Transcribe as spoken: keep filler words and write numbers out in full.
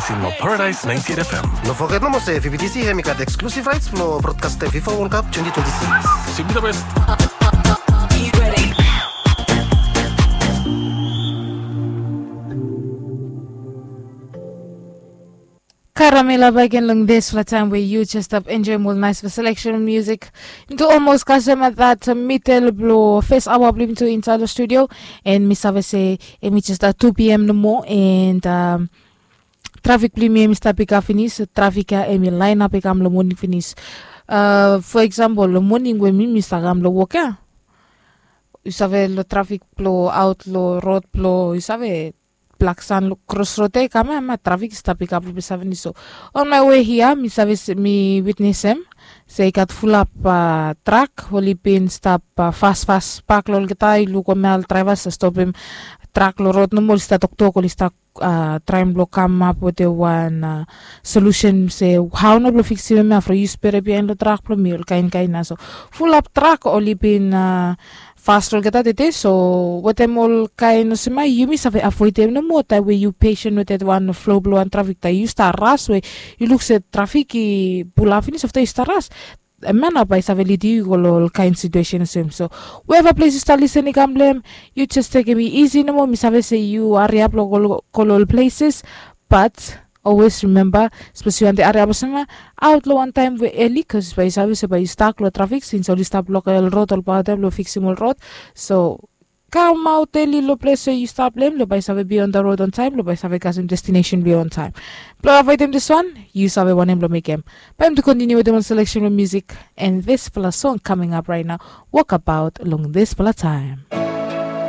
Paradise ninety-eight F M. No foget nomo se V B T C hem i gat eksklusif raets blong brodkastem FIFA World Cup twenty twenty-six. Simply the best. Karamela bagen long dispela taem we yu jes stap enjoem ol naisfala seleksen musik. Into olmos kasem at that mitel blong fes aoa blong yumi tu insait long studio. And mi save se em i jes tu pm nomo and trafik blong yumi em i stap i kam finis. Trafik ya em i lainap i kam long moning finis. For eksempel long moning we mi mi stap kam long wok ya, yu save long trafik blong aot long rod blong yu save blak san long kros rod ya i kam ya ma trafik i stap i kam blong mi save ni so. On my way hia mi save mi witnesem se i gat fulap trak oli bin stap fasfas bak long olgeta. I luk ol mel draivas i stopim trak long rod nomo oli stap toktok oli stap traem blong kamap wetem wan solusen se hao nao blong fiksim em ya from yu spere bihain long trak blong mi ol kain kain ya so fulap trak oli bin fas long olgeta tede. So wetem ol kain olsem ya yumi save avoedem nomo taem we yu pesen wetem wan flo blong wan trafik taem yu stap ras we yu luk se trafik i pulap finis afta yu stap ras. Em ya nao bae i save lidim yu go long ol kain situesen olsem so weva ples yu stap lisen i kam long em, yu jes tekem i isi nomo. Mi save se yu hariap long go long ol pleses, bat olwes rimemba sapos yu wantem hariap olsem ya, aot long wantaem we eli bikos bae yu save se bae yu stak long trafik sins oli stap blokem ol rod ol paotem blong fiksim ol rod. So kamaot eli long ples we yu stap long em long bae yu save be on the road on taem long bae yu save kasem destinesen blong yu on taem. Blong avoedim diswan, yu save wanem blong mekem. Bae mi tu kontiniu wetem ol seleksen blong musik and dispela song kaming ap rait nao, wokabaot long dispela taem.